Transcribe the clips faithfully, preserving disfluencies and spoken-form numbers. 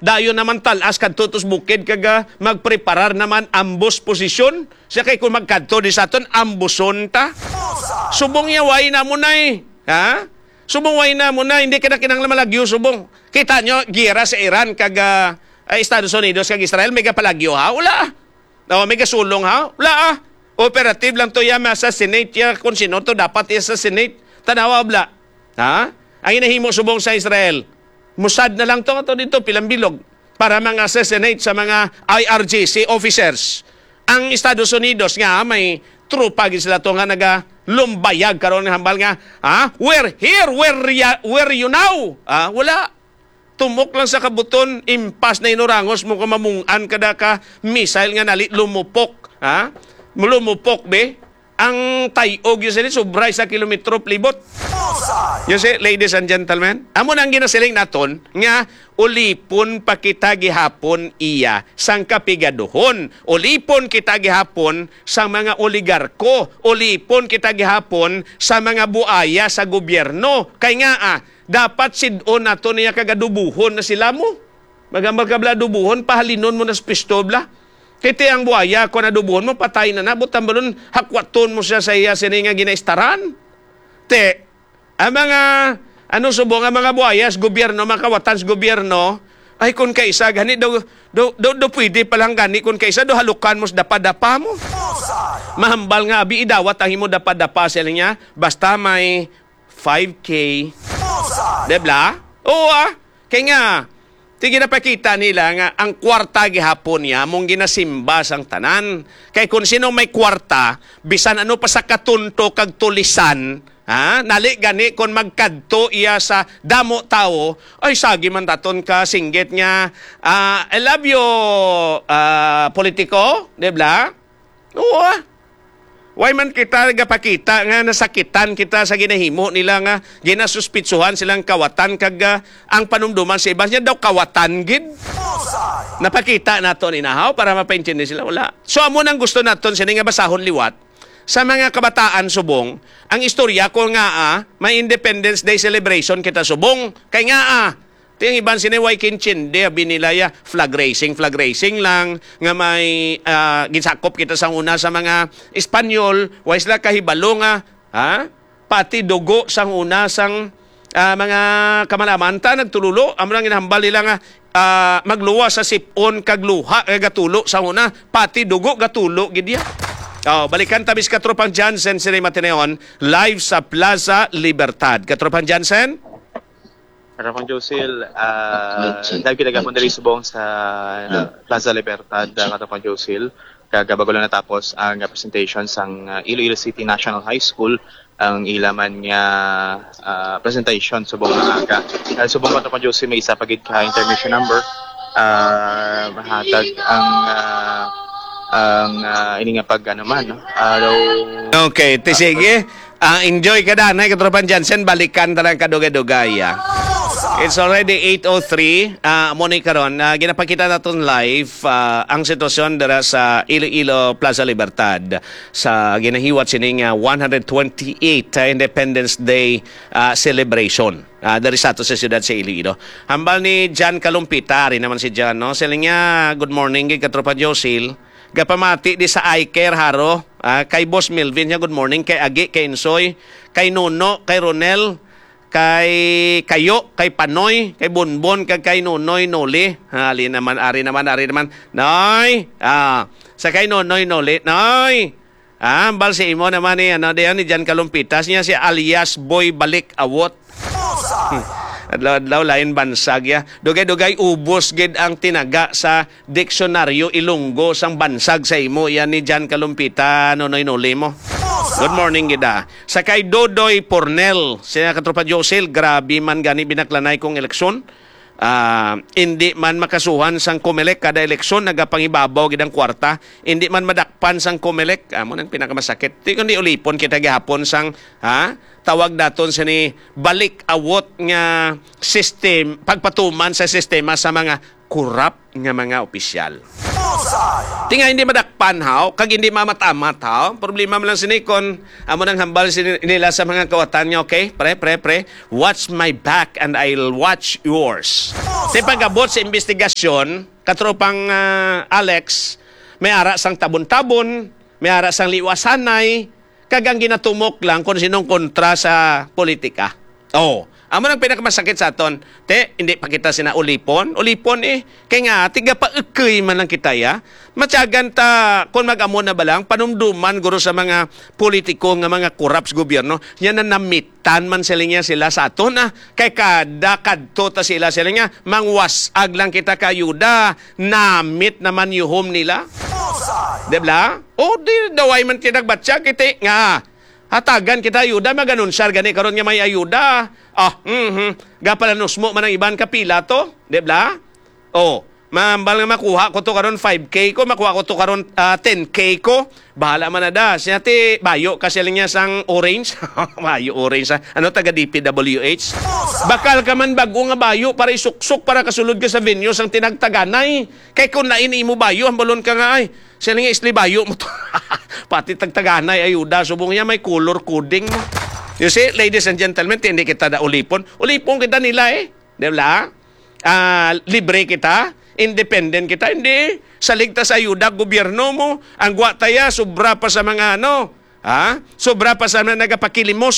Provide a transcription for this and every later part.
Dayon naman tal-as kadto tus bukid kag, ah, magpreparar naman ambos posisyon. Siya kay kung magkadto di sa aton, amboson ta. Subong iya, way na mo na eh. Ha? Subong way na mo na, hindi ka na kinahanglan malagyo, subong. Kita nyo, giyera sa Iran kag, ah, ah, Estados Unidos kag Israel, may gapalagyo ha? Wala. O, may gasulong ha? Wala ah. Operative lang to ya, ma-assassinate ya kung sino to dapat i-assassinate. Tanawa bla. Ha? Ang inahimo subong sa Israel, Mossad na lang to, ato dito, pilang bilog, para mga assassinate sa mga I R G C officers. Ang Estados Unidos nga may tropa gid sila to nga nagalumbayag karon nga hambal nga, ha? "We're here, we're, ya- we're you now." Ah, wala. Tumok lang sa kabuton, impas na inurangos mo ka mamung-an kada ka missile nga nali lumupok. Ha? Lumupok, be? Ang tay-og yun sini, sobra isa kilometro palibot. Bullseye! You see, ladies and gentlemen, amo na ang ginasiling naton nga ulipon pa kita gihapon iya sang kapigaduhon. Ulipon kita gihapon sa mga oligarko. Ulipon kita gihapon sa mga buaya sa gobyerno. Kay nga, ah, dapat sid-on nato niya kag adubuhon na sila mo. Magambal ka bla adubuhon, pahalinon mo na sa pisto bla. Kay ti ang buaya, kung adubuhon mo, patay na na. Butang balon, hakwaton mo siya sa iya sini nga ginaistaran. Te, ang mga, ano, subong ang mga buaya sa gobyerno, mga kawatan sa gobyerno, ay, kung kaisa, gani, do, do, do, do pwede pa lang gani, kung kaisa, do halukan mo sa dapa-dapa mo. Mahambal nga, abi, idawat ang imo dapa-dapa, sila niya, basta may five K. Bullseye! Di bla? Oo, ah. Kay nga, ti ginapakita nila nga ang kwarta gihapon niya mong ginasimba sang tanan. Kay kung sino may kwarta, bisan ano pa sa katunto kag tulisan, ha? Nali gani kung magkadto iya sa damo tawo, ay sagi man daton ka singgit nga, ah, "I love you, ah, politiko," di bla? Oo, ah. Why man kita gapakita nga nasakitan kita sa ginahimo nila nga ginasuspitsuhan silang kawatan kag, ah, ang panumduman sa iban niya daw kawatan gid? Napakita nato ni nahaw para mapaintindi sila? Wala. So, amo nang gusto naton sini nga basahon liwat sa mga kabataan subong ang istorya ko nga, ah, may Independence Day celebration kita subong. Kay nga, ah, Ti ang iban sini way kintindi, abi nila ya, flag raising, flag raising lang, nga may, ah, ginsakop kita sang una sa mga Espanyol, way sila kahibalo nga, ha? Pati dugo sang una sang, ah, mga kamalaman ta nagtululo, amo lang ginahambal nila nga, ah, magluwas sa sip-on kag luha kay gatulo sang una, pati dugo gatulo gid ya. Oh, balikan ta bis Katropang Jansen sini matineon, live sa Plaza Libertad. Katropang Jansen? Katropang Josil, ah, live kita gapon diri subong sa Plaza Libertad, ah, Katropang Josil. Kag bago lang natapos ang presentation sang, ah, Iloilo City National High School, ang ila man nga, ah, presentation subong nga aga. Ah, subong, Katropang Josil, may isa pa gid ka intermission number. Ah, mahatag ang, ah, ang, ah, ini nga pag, ano man, no? Araw. Okay, ti sige. Ah, enjoy ka, danay, Katropang Jansen. Balikan ta lang kadugay-dugay, ah. It's already eight oh three. Ah, mo ni karon, ah, ginapakita naton live, ah, ang sitwasyon dira sa Iloilo Plaza Libertad sa ginahiwat sining, ah, one hundred twenty-eight, ah, Independence Day, ah, celebration, ah, diri sa ato sa siyudad sa Iloilo. Hambal ni Jan Kalumpita, ari naman si Jan, no? Siling niya, "Good morning, gid, Katropa Josil. Gapamati di sa iCare, Haro." Ah, kay Boss Melvin niya, "Good morning." Kay Agi, kay Insoy, kay Nuno, kay Ronel, kay Kayo, kay Panoy, kay Bonbon, kag kay Nonoy Noli. Ali naman, ari naman, ari naman. Noy! Ah, sa kay Nonoy Noli. Noy! Ah, hambal si imo naman ni, ano, diyan ni Jan Kalumpitas niya si alias Boy Balik Awot. Adlaw-adlaw lain bansag ya. Dugay-dugay ubos gid ang tinaga sa diksyonaryo Ilonggo sang bansag sa imo, yan ni Jan Kalumpita, Nonoy Noli mo. Good morning gid, ah. Sa kay Dodoy Pornel, siya, Katropa Josil, grabe man gani binaklanay kong eleksyon. Ah, indi man makasuhan sang Comelec kada eleksyon, nagapangibabaw gid ang kwarta. Indi man madakpan sang Comelec, amo nang pinakamasakit. Ti kundi ulipon kita gihapon sang, ha? Tawag daton sini balik awot nga system, pagpatuman sa sistema sa mga korap nga mga opisyal. Bullseye! Ti nga hindi madakpan, haw, kag hindi mamat-amat, haw. Problema man lang sini kon amo nang hambal sini nila sa mga kawatan nga, "Okay, pre, pre, pre, watch my back and I'll watch yours." Ti pag-abot sa investigasyon, katropang, ah, Alex, may ara sang tabon-tabon, may ara sang liwasanay, kag ang ginatumok lang kung sinong kontra sa politika. Oh, amo nang pinakamasakit sa aton. Te, hindi pa kita sina ulipon. Ulipon eh. Kay nga, tigapaekoy man lang kita, ya. Matyagan ta, kung mag-amo na ba lang, panumduman guro sa mga politiko nga mga corrupt sa gobyerno, nya na namitan man sila niya sila sa aton, ah. Kay kada kadto ta sila sila niya, mangwasag lang kita ka ayuda, namit naman yuhom nila. Di ba? O di daway man tinagbatya, kiti nga, hatagan kita ayuda, mag-anunsar gani karon nga may ayuda. Ah, mhm. Gapalanusmo man ang iban ka pila to, di ba? Oh, mambal nga makuha ko to karon five K ko, makuha ko to karon, ah, ten K ko. Bahala man na da. Siya ti bayo ka sila niya sang orange. Bayo orange, ah. Ano, taga D P W H? Bakal ka man bago nga bayo para isuksok para kasulod ka sa venue sang tinagtaganay. Kay kung lain imo bayo, hambalon ka nga, ay, sila nga isli bayo mo to. Pati tagtaganay ayuda, subong niya may color coding mo. You see, ladies and gentlemen, hindi kita da ulipon. Ulipon kita nila eh. Di ba? Ah, libre kita, independent kita, hindi. Salig ta sa ayuda gobyerno mo, ang gwa taya, sobra pa sa mga ano, ha? Sobra pa sa mga nagapakilimos.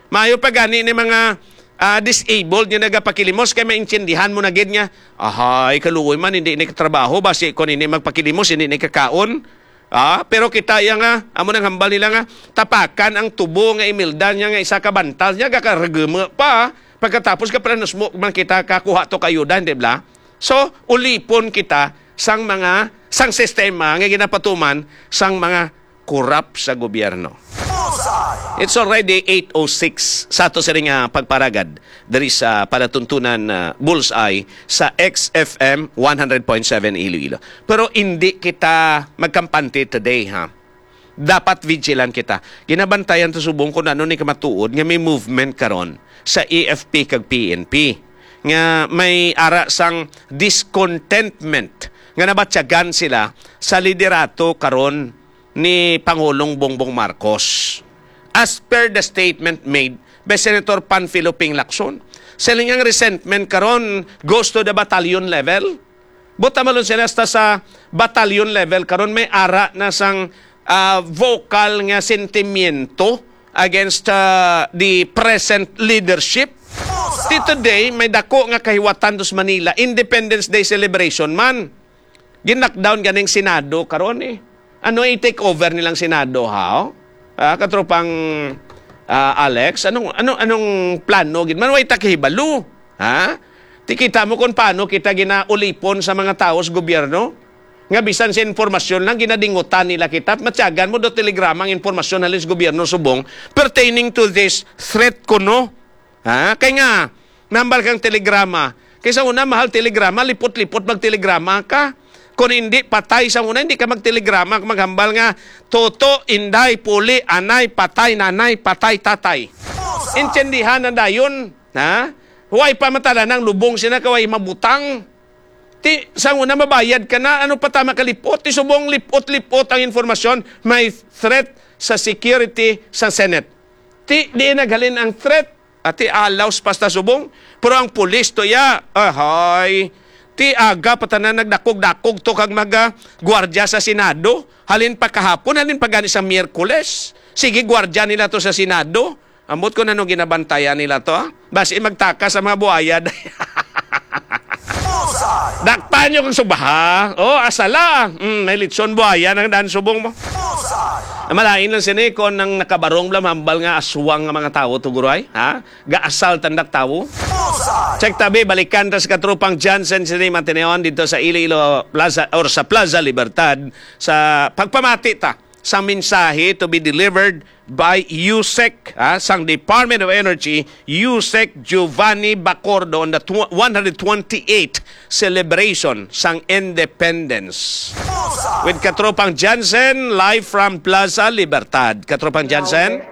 Maayo pa gani ni mga, ah, disabled nga nagapakilimos kay maintindihan mo na gid nga, "Ahay, kaluoy man, hindi ni katrabaho, basi kon hindi magpakilimos, hindi ni kakaon." Ah, pero kita iya nga, amo nang hambal nila nga, tapakan ang tubo nga Imelda niya nga isa ka bantal niya, gakaragama pa. Pagkatapos ka, planos mo man kita kakuha to kayo, di ba? So, ulipon kita sang mga, sang sistema nga ginapatuman sang mga korap sa gobyerno. It's already eight oh six sa ato sining, ah, pagparagad diri sa palatuntunan, ah, Bullseye sa X F M one hundred point seven Iloilo. Pero hindi kita magkampante today, ha. Dapat vigilant kita. Ginabantayan ta subong kung ano ni kamatuod nga may movement karon sa A F P kag P N P nga may ara sang discontentment nga nabatyagan sila sa liderato karon ni Pangulong Bongbong Marcos. As per the statement made by Senator Panfilo Ping Lacson, sila nga resentment karon goes to the battalion level. Buta malon sila hasta sa battalion level karon may ara na sang, ah, vocal nga sentimiento against, ah, the present leadership. Ti today may dako nga kahiwatan dos Manila, Independence Day celebration man. Gin-lockdown ganing Senado karon eh. Ano i-take over nilang Senado, ha? Ah, katropang, ah, Alex, anong, anong, anong plano gid man? Way ta kahibalo, ha? Ti kita mo kung paano kita ginaulipon sa mga tawo sa gobyerno? Nga bisan sa informasyon lang, ginadingutan nila kita. Matyagan mo do telegrama ang informasyon halin sa gobyerno subong pertaining to this threat kuno. Ha? Kay nga, nambal kang telegrama. Kay sa una, mahal telegrama, lipot-lipot magtelegrama ka. Kung hindi, patay sa una, hindi ka magtelegrama. Kung maghambal nga, "Toto, Inday, Puli, Anay, patay, Nanay, patay, Tatay." Intindihan na dayon, ha? Huwag pa matala ng lubong sina kaway mabutang. Ti, sa una, mabayad ka na, ano pa tama ka lipot? Ti subong lipot-lipot ang informasyon, may threat sa security sa Senate. Ti, di naghalin ang threat. Ati alaws pasta subong. Pero ang pulis to ya, ahay. Ti aga pa tanan nagdakog-dakog to kag maga gwardiya sa Senado. Halin pa kahapon, halin pa gani sa Miyerkules. Sige, gwardiya nila to sa Senado. Ambot ko na nung ginabantayan nila to, ah. Basi magtaka sa mga buaya. Dakpan nyo kang subaha. Oh, asala. Mm, may litson buaya nang daan subong mo. Malain lang sini kon ang nakabarong lang hambal nga aswang nga mga tawo, tuguray, ha? Gaasal tandak tawo. Check tabi, balikan ta sa katropang Johnson sini matineon dito sa Iloilo Plaza or sa Plaza Libertad sa pagpamati ta sa mensahe to be delivered by USEC, ah, sang Department of Energy, USEC Giovanni Bacordo on the tw-, one hundred twenty-eight celebration sang Independence. With Katropang Jansen, live from Plaza Libertad. Katropang Jansen?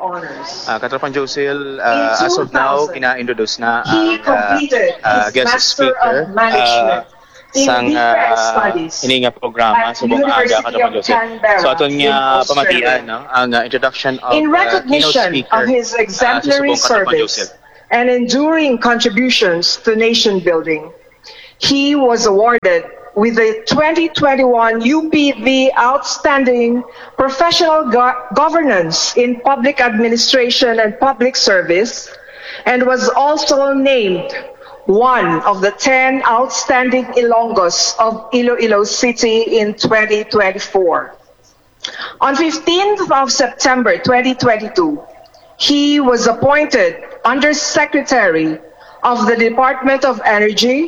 Ah, Katropang Josil, ah, as of now, gina-introduce na ang, ah, ah, guest speaker. Ah, sang ah, ini nga programa subong aga, Katapang Joseph. So aton nga pamatian, no, ang ah, introduction of In ah, keynote recognition speaker of his ah, exemplary subong Katapang service Joseph. And enduring contributions to nation building, he was awarded with the twenty twenty-one U P V Outstanding Professional Go- Governance in Public Administration and Public Service, and was also named one of the ten outstanding Ilonggos of Iloilo City in twenty twenty-four. On fifteenth of September twenty twenty-two, he was appointed Undersecretary of the Department of Energy,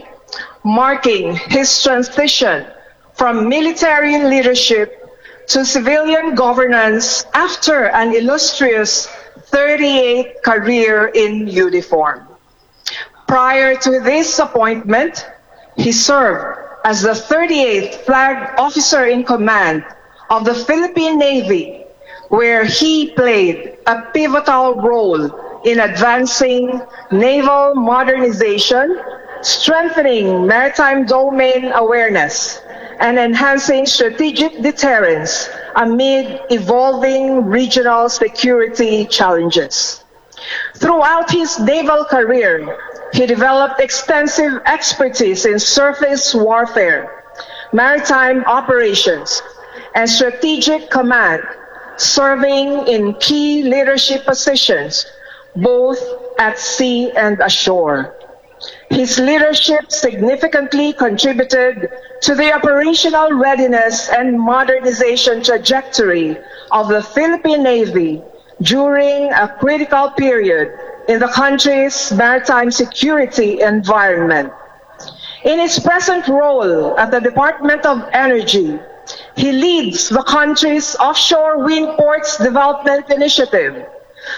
marking his transition from military leadership to civilian governance after an illustrious thirty-eight career in uniform. Prior to this appointment, he served as the thirty-eighth Flag Officer in Command of the Philippine Navy, where he played a pivotal role in advancing naval modernization, strengthening maritime domain awareness, and enhancing strategic deterrence amid evolving regional security challenges. Throughout his naval career, he developed extensive expertise in surface warfare, maritime operations, and strategic command, serving in key leadership positions both at sea and ashore. His leadership significantly contributed to the operational readiness and modernization trajectory of the Philippine Navy during a critical period in the country's maritime security environment. In his present role at the Department of Energy, he leads the country's Offshore Wind Ports Development Initiative,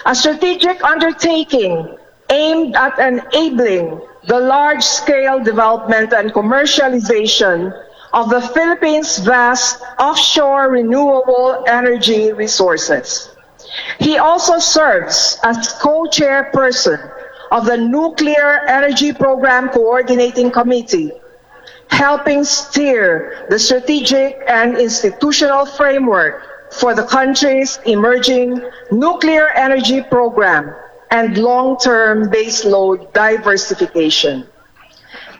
a strategic undertaking aimed at enabling the large-scale development and commercialization of the Philippines' vast offshore renewable energy resources. He also serves as co-chairperson of the Nuclear Energy Program Coordinating Committee, helping steer the strategic and institutional framework for the country's emerging nuclear energy program and long-term baseload diversification.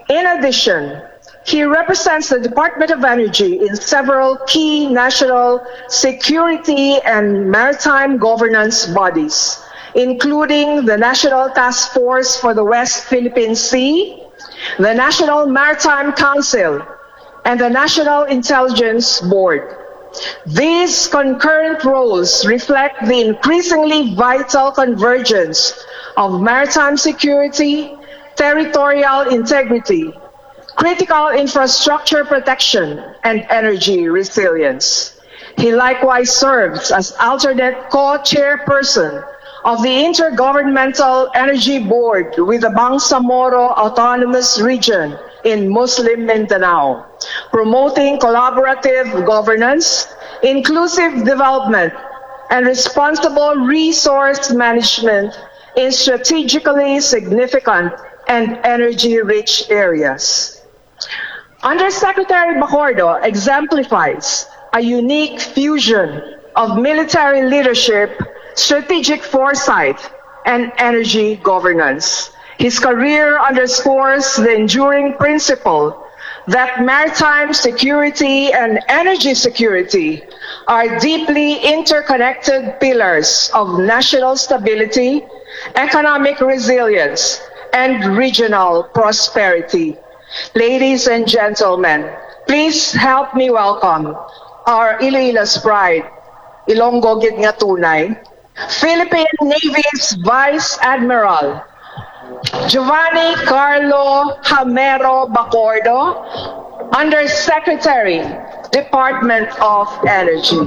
In addition, he represents the Department of Energy in several key national security and maritime governance bodies, including the National Task Force for the West Philippine Sea, the National Maritime Council, and the National Intelligence Board. These concurrent roles reflect the increasingly vital convergence of maritime security, territorial integrity, critical infrastructure protection, and energy resilience. He likewise serves as alternate co-chairperson of the Intergovernmental Energy Board with the Bangsamoro Autonomous Region in Muslim Mindanao, promoting collaborative governance, inclusive development, and responsible resource management in strategically significant and energy-rich areas. Undersecretary Bacordo exemplifies a unique fusion of military leadership, strategic foresight, and energy governance. His career underscores the enduring principle that maritime security and energy security are deeply interconnected pillars of national stability, economic resilience, and regional prosperity. Ladies and gentlemen, please help me welcome our Iloilo's pride, Ilonggo gid nga tunay, Philippine Navy's Vice Admiral Giovanni Carlo Hamero Bacordo, Undersecretary, Department of Energy.